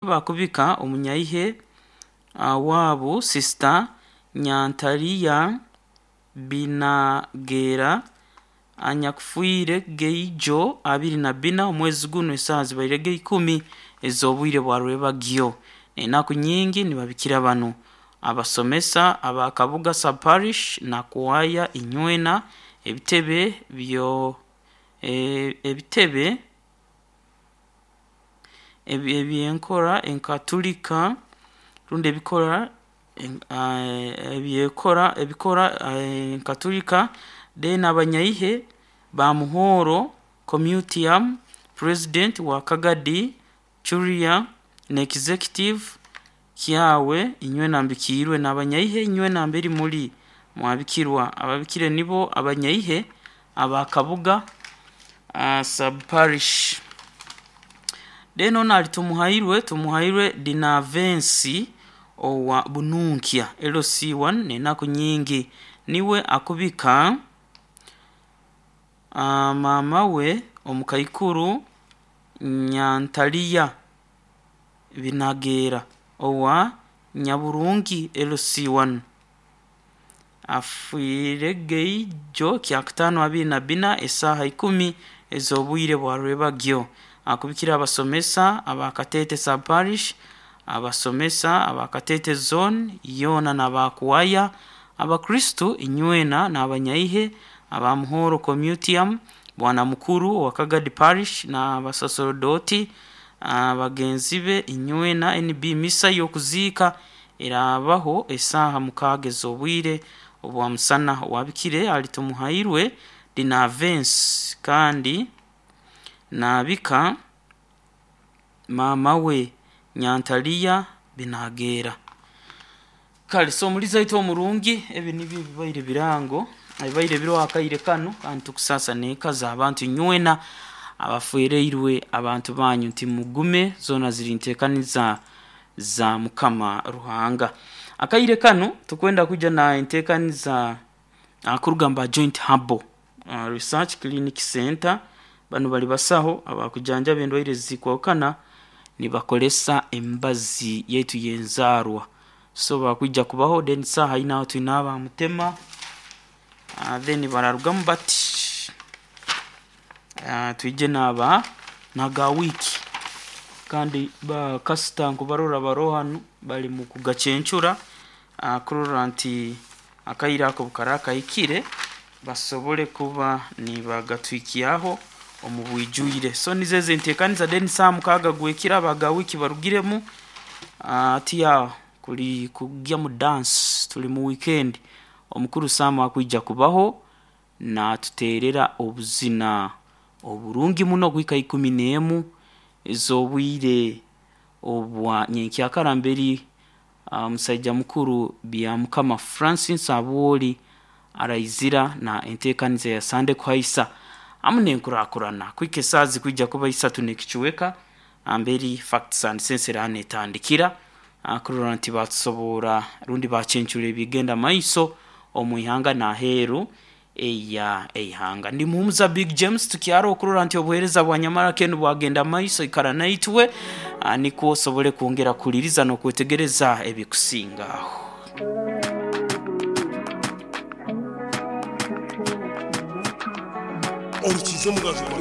Bakubika omunyaihe waabo Sisita Nyantaliya Binagera anyakufiire geijo 24 omwezi gunu esaaha zibaire ga10 ez'obwire bwa rwebagyo. Enaku nyingi nibabikira banu abasomesa aba Kabuga Sub-Parish na Kwaya Inywena ebitebe byo ebitebe ebyenkora enkatulika rundi ebikora ebyekora ebikora enkatulika then abanyaihe ba Muhoro Comitium president wa Kagadi Curia na executive kyawe inywena mbikiirwe n'abanyaihe inywena mberi muri mwabikirwa ababikire nibo abanyaihe aba Kabuga Sub-Parish. Then onu ali Tumuhairwe, Tumuhairwe Dinavensi owa Bununkya LC1 n'enaku nyingi niwe akubika maama we omukaikuru Nyantaliya Binagera owa Nyaburungi LC1 afiire geijo kyakutaano 24 esaaha 10 ez'obwire bwa rwebagyo. Akubikira abasomesa aba Kateete Sub-Parish, abasomesa aba Kateete Zone yoona n'aba Kwaya, Abakristu inywena n'abanyaihe aba Muhoro Comitium, Bwana Mukuru owa Kagadi Parish n'abasaserodooti bagenzi be inywena NB Misa y'okuziika eraabaho esaaha 6 ez'obwire obwa musana. Owabikire ali Tumuhairwe Dinavensi kandi naabika maama we Nyantaliya Binagera. Kale so omulizi waitu omurungi ebi nibyo ebibaire birango ebibaire biriho akaire kanu kandi tukusaasa n'eka z'abantu inywena abafereirwe abantu banyu nti mugume zoona ziri nteekaniza za Mukama Ruhanga. Akaire kanu tukwenda kwija na enteekaniza kuruga mu ba Joint Herbal Research Clinic Center banu bali basaho abakujanjaba endwaire ezikwahukana nibakozesa emibazi yaitu y'enzaarwa. So bakwija kubaho then saaha ina twine aba Mutema then bararugamu bati twije n'aba naga wiiki kandi bakasita nkubarora baroho hanu bali mu kugacencura kurora nti akaire ako bukara kahikire basobole kuba nibagatwikyaho omu bwijwire. So nizo ezo enteekaniza then saaha 6 gwekiro abaga wiiki barugiremu hati aho kuli kugya mu dance tuli mu weekend omukuru Sam akwija kubaho naatuteerera obuzina oburungi muno kuhika 11 ez'obwire obwa nyenkyakara mberi omusaija mukuru Byamukama Francis Abwoli araizira na enteekaniza ya Sande kuhaisa hamu n'enkurakurana kuhika esaaha zikwija kuba 3 n'ekicweka mberi Facts and Sense eraba neetandikira kurora nti baatusobora rundi baacencura ebigenda maiso omu ihanga n'aheeru eya eihanga. Ndi Muhumuza Big James tukyaro okurora nti obuheereza bwa Nyamara Ken bwagenda maiso ikara naitwe nikwo osobole kwongera kuhuliriza n'okwetegereza ebikusingaho. Orukizo omugajo gwa